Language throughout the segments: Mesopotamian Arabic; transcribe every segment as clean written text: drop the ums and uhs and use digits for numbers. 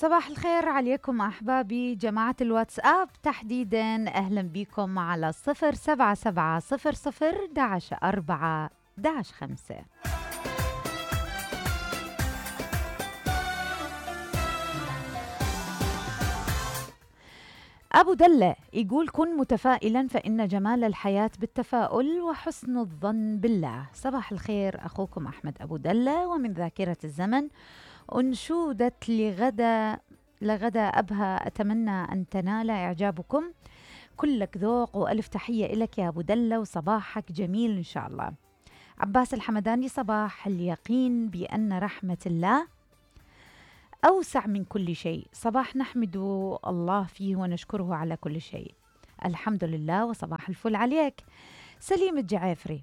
صباح الخير عليكم أحبابي جماعة الواتساب تحديدا، أهلا بكم على 077 00 11 4 11 5. أبو دلة يقول كن متفائلا فإن جمال الحياة بالتفاؤل وحسن الظن بالله. صباح الخير أخوكم أحمد أبو دلة، ومن ذاكرة الزمن أنشودة لغدا أبها، أتمنى أن تنال إعجابكم، كلك ذوق وألف تحية إلك يا أبو دلة وصباحك جميل إن شاء الله. عباس الحمداني، صباح اليقين بأن رحمة الله أوسع من كل شيء، صباح نحمد الله فيه ونشكره على كل شيء، الحمد لله وصباح الفل عليك. سليم الجعافري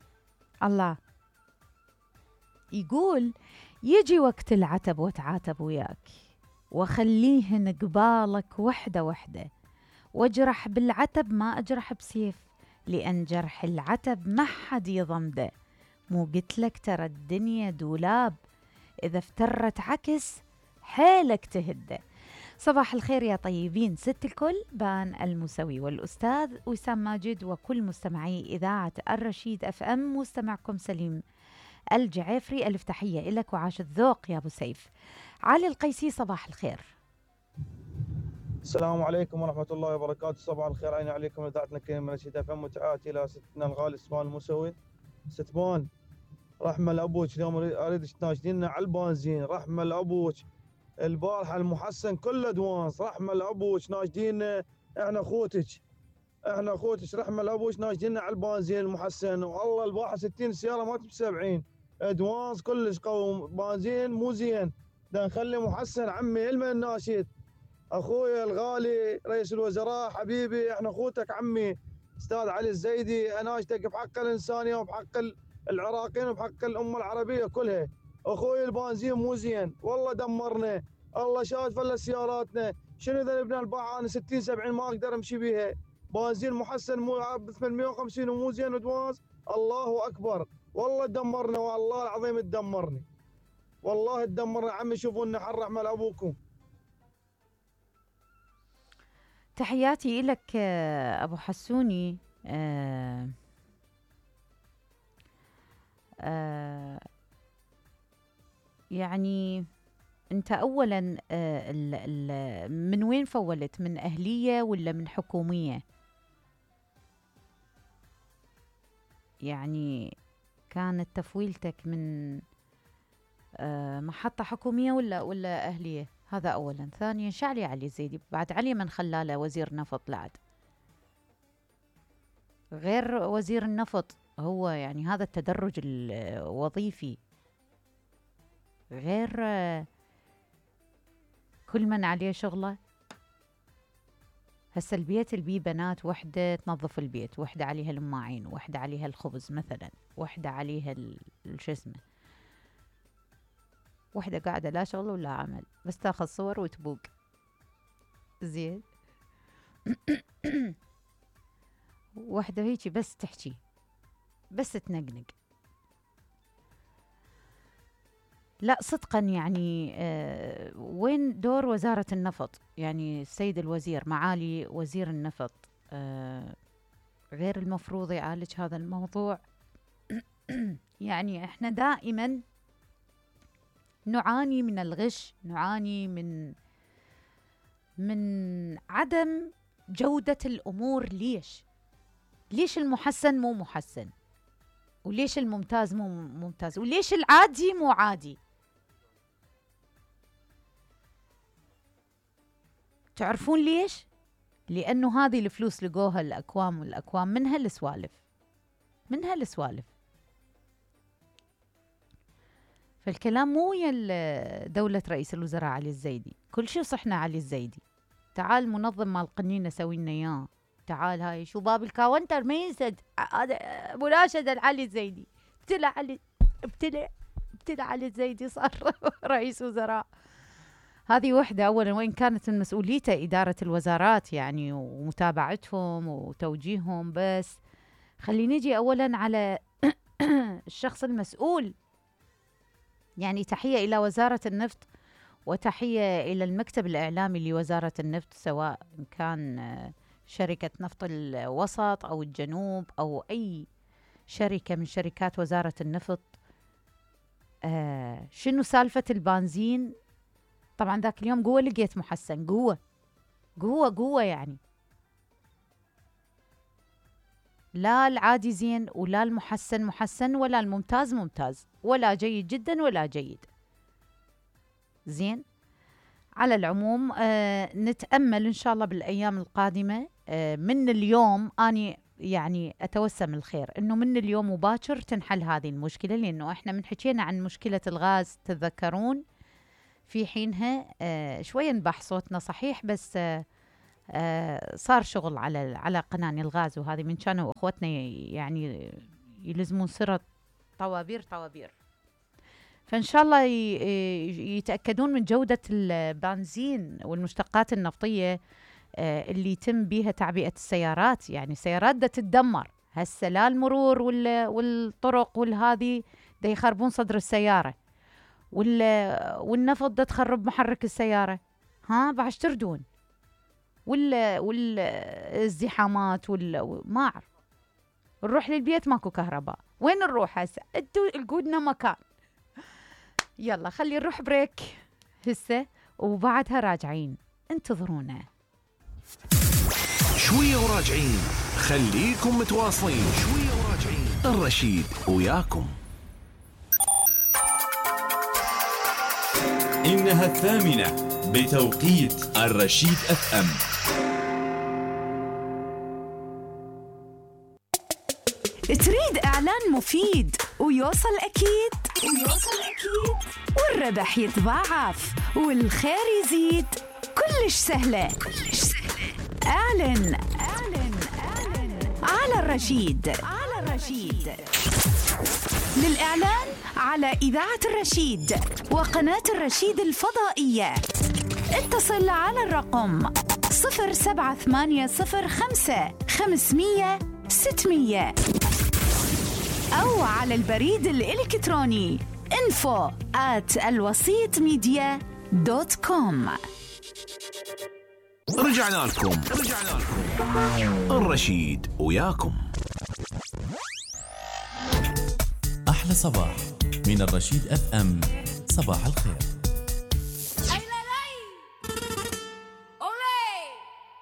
الله يقول يجي وقت العتب وتعاتب وياك، وخليهن قبالك وحدة وحدة، واجرح بالعتب ما أجرح بسيف، لأن جرح العتب ما حد يضمده، مو قلتلك ترى الدنيا دولاب، إذا افترت عكس حيلك تهده. صباح الخير يا طيبين، ست الكل بان المسوي والأستاذ وسام ماجد وكل مستمعي إذاعة الرشيد اف ام، مستمعكم سليم الجعافري، ألف تحية إلك وعاش الذوق يا أبو سيف. علي القيسي، صباح الخير. السلام عليكم ورحمة الله وبركاته. صباح الخير عيني عليكم إذاعتنا كريم من رشيد اف ام، وتحياتي إلى ستنا الغالي ستمان المسوي. ستمان رحمة لأبوك، اليوم أريدك تناشدينا على البنزين، رحمة لأبوك. البارحة المحسن كله دوانس، رحمة لأبوك ناشدينا، احنا اخوتك رحمة لأبوك ناشدينا على البنزين المحسن، والله البارحة 60 سيارة ما تب 70 دوانس كلش قوي، بنزين مو زين، دا نخلي محسن عمي المن الناشد اخوي الغالي رئيس الوزراء حبيبي، احنا اخوتك عمي استاذ علي الزيدي، اناشدك بحق الانسانيه وبحق العراقيين وبحق الامه العربيه كلها. اخوي البنزين مو زين والله، دمرنا، الله شاهد فل سياراتنا، شنو اذا نبنى الباعة انا 60 70 ما اقدر امشي بيها، بنزين محسن مو ب 850 ومو زين ودواز، الله اكبر والله تدمرنا، والله العظيم تدمرني، والله تدمرنا عمي، شوفوا لنا حل رحمه لابوكم. تحياتي لك أبو حسوني. يعني أنت أولا من وين فولت، من أهلية ولا من حكومية؟ يعني كانت تفويلتك من محطة حكومية ولا أهلية؟ هذا أولا. ثانيا شعلي علي الزيدي، بعد علي من خلاله وزير نفط بعد، غير وزير النفط، هو يعني هذا التدرج الوظيفي، غير كل من عليه شغله. هسه البيت البي بنات، وحدة تنظف البيت، وحدة عليها الماعين، وحدة عليها الخبز مثلا، وحدة عليها شو اسمه، وحدة قاعدة لا شغل ولا عمل، بس تاخذ صور وتبوق زين. وحدة هيجي بس تحكي، بس تنقنق. لا صدقا يعني وين دور وزارة النفط؟ يعني السيد الوزير، معالي وزير النفط، غير المفروض يعالج هذا الموضوع؟ يعني احنا دائما نعاني من الغش، نعاني من عدم جودة الأمور. ليش المحسن مو محسن، وليش الممتاز مو ممتاز، وليش العادي مو عادي؟ تعرفون ليش؟ لأنه هذه الفلوس لقوها الأكوام والأكوام، منها السوالف. فالكلام مو ويا دولة رئيس الوزراء علي الزيدي، كل شيء صحنا علي الزيدي. تعال منظم مال قنينة سوي لنا اياه، تعال هاي شو باب الكاونتر ما ينسد، هذا مناشدة علي الزيدي، ابتلع علي الزيدي صار رئيس وزراء. هذه وحدة أولا، وإن كانت من مسؤوليته إدارة الوزارات يعني ومتابعتهم وتوجيههم، بس خلينا نجي أولا على الشخص المسؤول. يعني تحية إلى وزارة النفط وتحية إلى المكتب الإعلامي لوزارة النفط، سواء كان شركة نفط الوسط أو الجنوب أو أي شركة من شركات وزارة النفط. شنو سالفة البنزين؟ طبعا ذاك اليوم قوة لقيت محسن، قوة يعني، لا العادي زين ولا المحسن محسن ولا الممتاز ممتاز ولا جيد جدا ولا جيد زين. على العموم نتأمل إن شاء الله بالأيام القادمة. من اليوم أني يعني أتوسم الخير إنه من اليوم وباكر تنحل هذه المشكلة، لأنه إحنا من حكينا عن مشكلة الغاز تتذكرون في حينها شوية نبح صوتنا صحيح، بس صار شغل على قناني الغاز، وهذه من كانوا أخوتنا يعني يلزمون سرة طوابير. فإن شاء الله يتأكدون من جودة البنزين والمشتقات النفطية اللي يتم بها تعبئة السيارات. يعني السيارات دا تتدمر هسه، لا المرور والطرق والهذه دا يخربون صدر السيارة، والنفط دا تخرب محرك السيارة، بعد تردون والازدحامات ما أعرف. نروح للبيت ماكو كهرباء، وين نروح هسه؟ انتوا القودنا مكان. يلا خلي نروح بريك هسه وبعدها راجعين، انتظرونا شوية وراجعين. خليكم متواصلين، شوية وراجعين. الرشيد وياكم. إنها 8 بتوقيت الرشيد FM. تريد إعلان مفيد ويوصل أكيد والربح يتضاعف والخير يزيد، كلش سهلة. اعلن على الرشيد. للإعلان على إذاعة الرشيد وقناة الرشيد الفضائية اتصل على الرقم 07805 أو على البريد الإلكتروني info@alwasitmedia.com. رجعنا لكم. الرشيد وياكم. أحلى صباح من الرشيد FM. صباح الخير.